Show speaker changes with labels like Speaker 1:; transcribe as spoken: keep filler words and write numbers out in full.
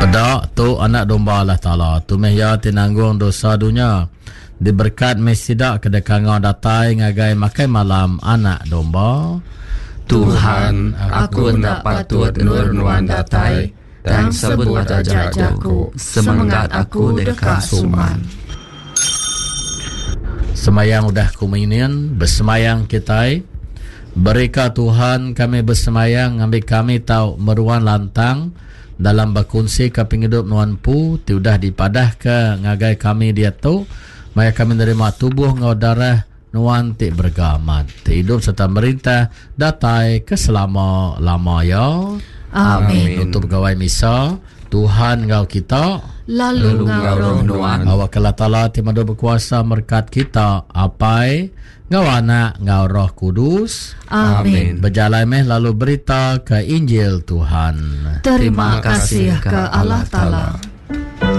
Speaker 1: Peda tu anak domba Allah Taala, tu meh iya ti nanggung dosa dunya. Diberkat meh sida ke dikangau datai ngagai makai malam anak domba.
Speaker 2: Tuhan, aku enda patut endur nuan datai, tang sebut aja jaku, semengat aku deka suman.
Speaker 1: Semayang udah kuminin, besemayang kitai. Berika Tuhan kami besemayang ngambi kami tau meruan lantang dalam bekunsi ke pengidup nuan pu ti udah dipadah ke ngagai kami diatu maya kami nerima tubuh enggau darah nuan ti berega amat ti hidup serta merintah datai ke selama-lama ya.
Speaker 3: Amin.
Speaker 1: Nutup gawai misa, Tuhan enggau kita
Speaker 3: lalu enggau roh nuan.
Speaker 1: Awak Allah Taala ti madu berkuasa merkat kita Apai enggau Anak enggau Roh Kudus.
Speaker 3: Amin.
Speaker 1: Berjalai meh lalu berita ke Injil Tuhan.
Speaker 3: Terima kasih ke Allah Taala.